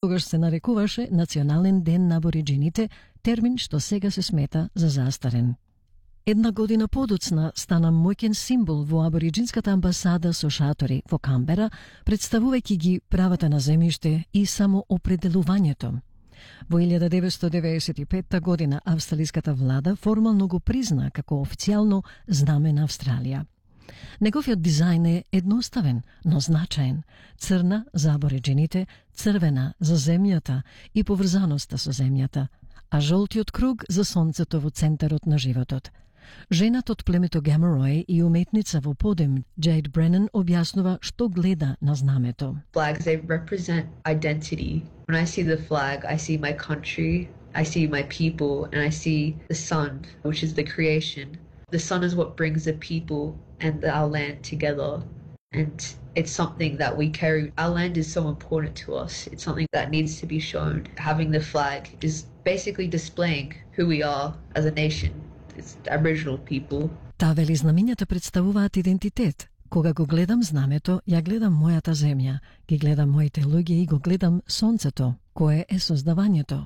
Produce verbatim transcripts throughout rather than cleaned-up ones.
Тогаш се нарекуваше Национален ден на абориджините, термин што сега се смета за застарен. Една година подоцна стана моќен символ во абориджинската амбасада со шатори во Камбера, представувајќи ги правата на земјиште и самоопределувањето. Во илјада деветстотини деветдесет и петта година австралиската влада формално го призна како официјално знаме на Австралија. Неговиот дизајн е едноставен, но значаен. Црна за абориджините, црвена за земјата и поврзаноста со земјата, а жолтиот круг за сонцето во центарот на животот. Жената од племето Гамарој и уметница во подем Джейд Бренан објаснува што гледа на знамето. Flags, they represent identity. When I see the flag, I see my country, I see my people, and I see the sun, which is the creation. The sun is what brings the people and our land together. And it's something that we carry. Our land is so important to us. It's something that needs to be shown. Having the flag is basically displaying who we are as a nation. It's Aboriginal people. Таа вели знамињата представуваат идентитет. Кога го гледам знамето, ја гледам мојата земја, ги гледам моите луѓе и го гледам сонцето, кое е создавањето.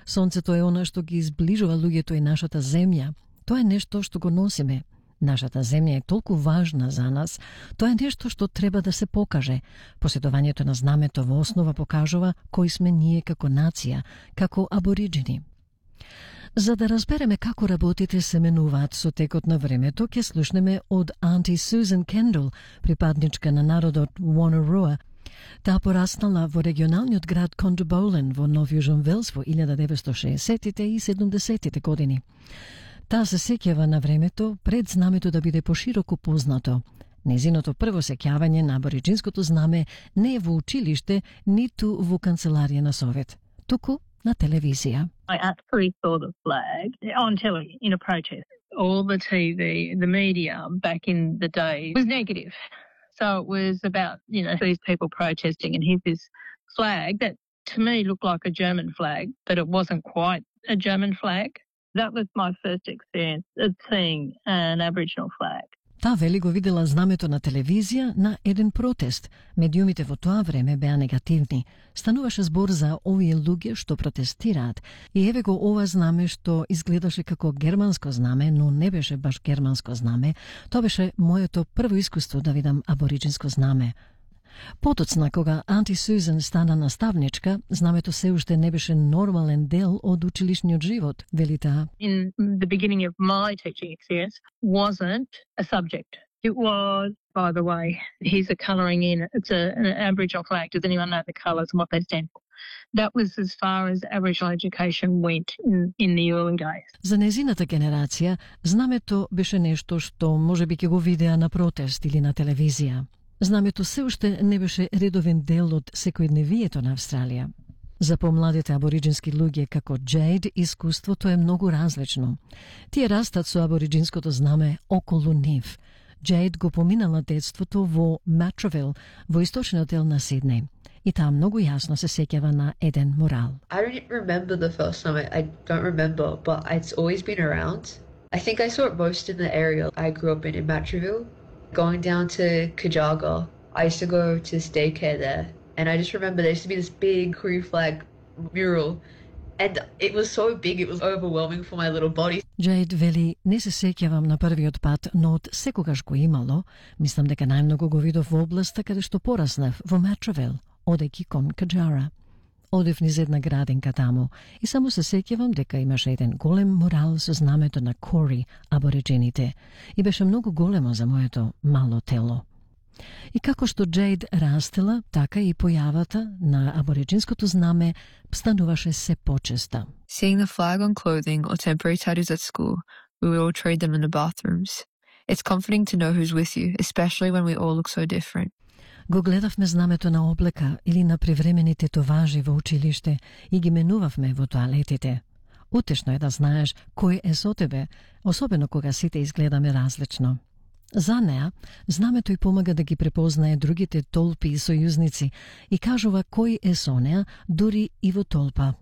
Сонцето е она што ги изближува луѓето и нашата земја. Тоа е нешто што го носиме. Нашата земја е толку важна за нас. Тоа е нешто што треба да се покаже. Поседувањето на знамето во основа покажува кои сме ние како нација, како абориджини. За да разбереме како работите се менуваат со текот на времето, ќе слушнеме од Aunty Susan Kendall, припадничка на народот Wonnarua. Таа пораснала во регионалниот град Condobolin во Нов Јужен Велс во илјада деветстотини и шеесеттите и седумдесеттите години. Таа се сеќава на времето пред знамето да биде пошироко познато. Незиното прво сеќавање на абориджинското знаме не е во училиште, ниту во канцеларија на Совет, туку на телевизија. I actually saw the flag on telly in a protest. All the T V, the media back in the day was negative. So it was about, you know, these people protesting, and here's this flag that to me looked like a German flag, but it wasn't quite a German flag. That was my first experience of seeing an Aboriginal flag. Таа вели го видела знамето на телевизија на еден протест. Медиумите во тоа време беа негативни. Стануваше збор за овие луѓе што протестираат. И еве го ова знаме што изгледаше како германско знаме, но не беше баш германско знаме. Тоа беше моето прво искуство да видам абориджинско знаме. Потоцна, кога Aunty Susan стана наставничка, знамето се уште не беше нормален дел од училишниот живот, вели таа. In the beginning of my teaching experience wasn't a subject. It was, by the way, here's a colouring in. It's a, an Aboriginal flag. Does anyone know the colours and what they stand for? That was as far as Aboriginal education went in, in the early days. За незината генерација, знамето беше нешто што можеби ќе го видеа на протест или на телевизија. Знамето се уште не беше редовен дел од секојдневието на Австралија. За помладите абориджински луѓе како Джейд, искуството е многу различно. Тие растат со абориджинското знаме околу нив. Джейд го поминала детството во Матравил, во источниот дел на Сиднеј. И таа многу јасно се сеќава на еден мурал. I don't remember the first time. I, I don't remember, but it's always been around. I think I saw it most in the area I grew up in, in Matraville. Going down to Kajaga, I used to go to daycare there, and I just remember there used to be this big Korean flag mural, and it was so big it was overwhelming for my little body. Джейд вели, не се сеќавам на првиот пат, но од секогаш го имало, мислам дека најмногу го видов во областа каде што пораснав, во Матравил, одејќи кон Каджара. Одев низ една градинка таму и само се сеќавам дека имаше еден голем мурал со знамето на Кори, абориджините, и беше многу големо за моето мало тело. И како што Джейд растела, така и појавата на абориджинското знаме стануваше се почеста. Seeing the flag on clothing or temporary tattoos at school, we would all trade them in the bathrooms. It's comforting to know who's with you, especially when we all look so different. Го гледавме знамето на облека или на привремени тетоважи во училиште и ги менувавме во тоалетите. Утешно е да знаеш кој е со тебе, особено кога сите изгледаме различно. За неа, знамето и помага да ги препознае другите толпи и сојузници и кажува кој е со неа, дури и во толпа.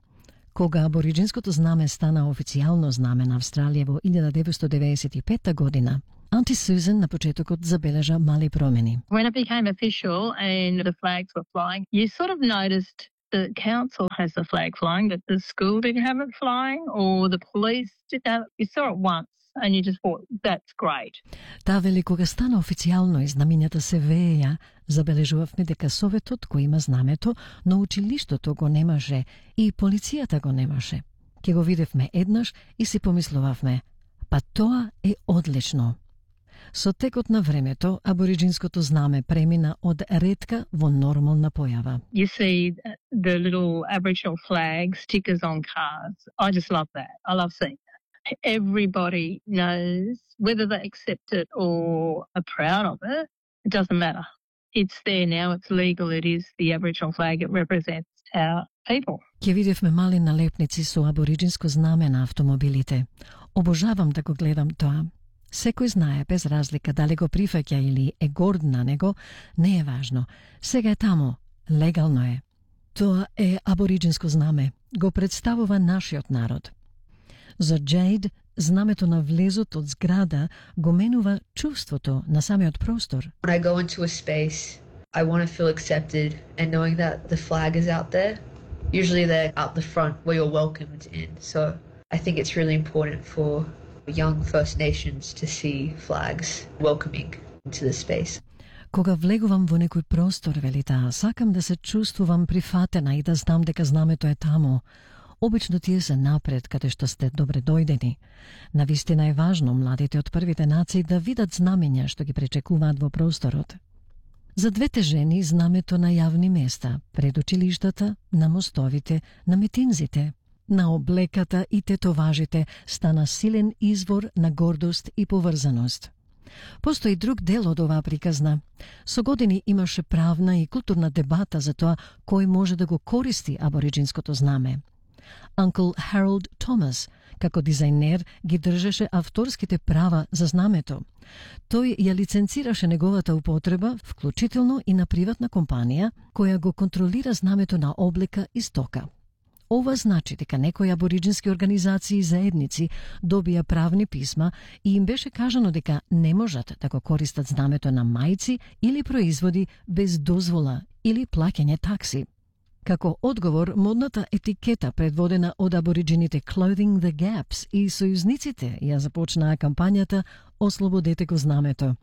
Кога абориджинското знаме стана официјално знаме на Австралија во илјада деветстотини деветдесет и петта година, Aunty Susan на почетокот забележа мали промени. When it became official and the flags were flying, you sort of noticed the council has the flag flying, but the school didn't have it flying, or the police didn't have it. You saw it once and you just thought, that's great. Таа вели кога стана официјално и знамињата се вееја, забележувавме дека Советот го има знамето, но училиштото го немаше и полицијата го немаше. Ке го видевме еднаш и си помислувавме, па тоа е одлично. Со текот на времето, абориджинското знаме премина од ретка во нормална појава. You see the little Aboriginal flag stickers on cars. I just love that. I love seeing that. Everybody knows whether they accept it or are proud of it. It doesn't matter. It's there now. It's legal. It is the Aboriginal flag. It represents our people. Ке видевме мали налепници со абориджинско знаме на автомобилите. Обожавам да го гледам тоа. Секој знае без разлика дали го прифаќа или е горд на него, не е важно. Сега е таму, легално е. Тоа е абориджинско знаме, го представува нашиот народ. За Джейд, знамето на влезот од зграда го менува чувството на самиот простор. When I go into a space, I want to feel accepted, and knowing that the flag is out there, usually they're out the front where you're welcomed in. So I think it's really important for young First Nations to see flags welcoming into the space. Кога влегувам во некој простор, вели таа, сакам да се чувствувам прифатена и да знам дека знамето е таму. Обично тие се напред, каде што сте добре дојдени. Навистина е важно младите од првите нации да видат знамења што ги пречекуваат во просторот. За двете жени знамето на јавни места, пред училиштата, на мостовите, на митинзите, на облеката и тетоважите стана силен извор на гордост и поврзаност. Постои друг дел од оваа приказна. Со години имаше правна и културна дебата за тоа кој може да го користи абориджинското знаме. Uncle Harold Thomas, како дизајнер, ги држеше авторските права за знамето. Тој ја лиценцираше неговата употреба, вклучително и на приватна компанија, која го контролира знамето на облека и стока. Ова значи дека некои абориджински организации и заедници добија правни писма и им беше кажано дека не можат да го користат знамето на мајци или производи без дозвола или плаќање такси. Како одговор, модната етикета предводена од абориджините Clothing the Gaps и сојузниците ја започнаа кампањата Ослободете го знамето.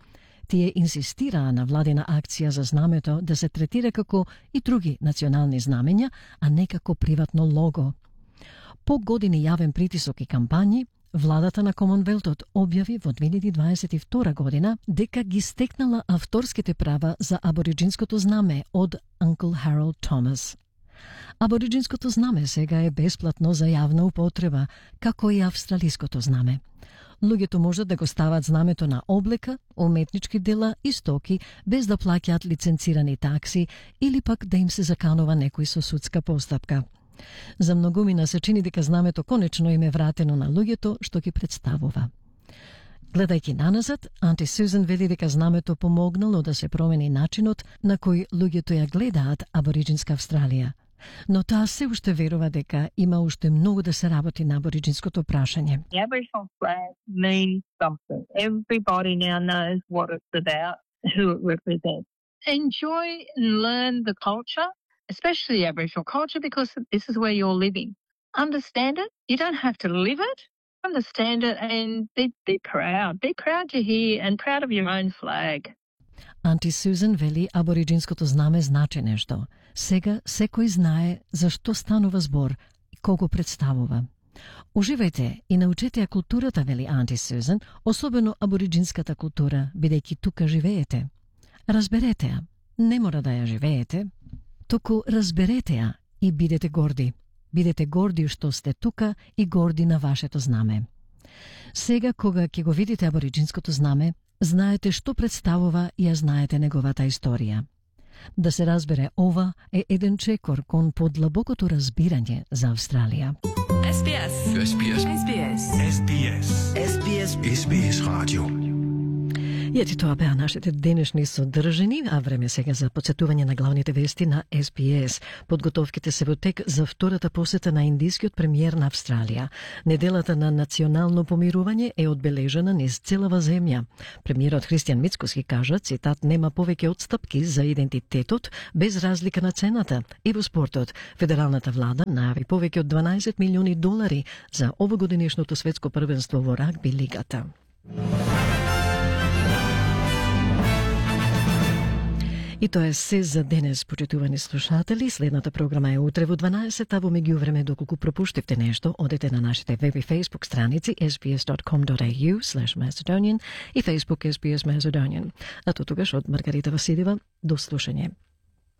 Тие инсистираа на владина акција за знамето да се третира како и други национални знамења, а не како приватно лого. По години јавен притисок и кампањи, владата на Комонвелтот објави во две илјади дваесет и втора година дека ги стекнала авторските права за абориджинското знаме од Uncle Harold Thomas. Абориджинското знаме сега е бесплатно за јавна употреба, како и австралиското знаме. Луѓето можат да го стават знамето на облека, уметнички дела и стоки без да плаќаат лиценцирани такси или пак да им се заканува некој со судска постапка. За многумина се чини дека знамето конечно им е вратено на луѓето што ги представува. Гледајќи наназад, Анти Сюзан вели дека знамето помогнало да се промени начинот на кој луѓето ја гледаат абориджинска Австралија. Но таа се уште верува дека има уште многу да се работи на абориджинското прашање. The Aboriginal flag means something. Everybody now knows what it's about, who it represents. Enjoy and learn the culture, especially Aboriginal culture, because this is where you're living. Understand it. You don't have to live it. Understand it and be, be proud. Be proud you're here and proud of your own flag. Анти Сюзан вели абориджинското знаме значи нешто. Сега секој знае за што станува збор и кого представува. Уживајте и научете ја културата, вели Анти Сюзан, особено абориджинската култура, бидејќи тука живеете. Разберете ја, не мора да ја живеете, туку разберете ја и бидете горди. Бидете горди што сте тука и горди на вашето знаме. Сега, кога ќе го видите абориджинското знаме, знаете што представува и ја знаете неговата историја. Да се разбере ова е еден чекор кон подлабокото разбирање за Австралија. S B S. S B S. S B S. S B S. S B S. S B S Radio. И ети тоа беа нашите денешни содржини, а време сега за потсетување на главните вести на Ес Би Ес. Подготовките се во тек за втората посета на индискиот премиер на Австралија. Неделата на национално помирување е одбележена низ целава земја. Премиерот Христијан Мицкоски кажа, цитат, нема повеќе отстапки за идентитетот без разлика на цената. И во спортот, федералната влада најави повеќе од дванаесет милиони долари за овогодинешното светско првенство во рагби лигата. И тоа е се за денес, почитувани слушатели. Следната програма е утре во дванаесет, а во меѓувреме, доколку пропуштивте нешто, одете на нашите веб и фейсбук страници ес би ес точка ком точка ей ю слеш Macedonian и Facebook ес би ес Macedonian. А то тогаш од Маргарита Василева, до слушање.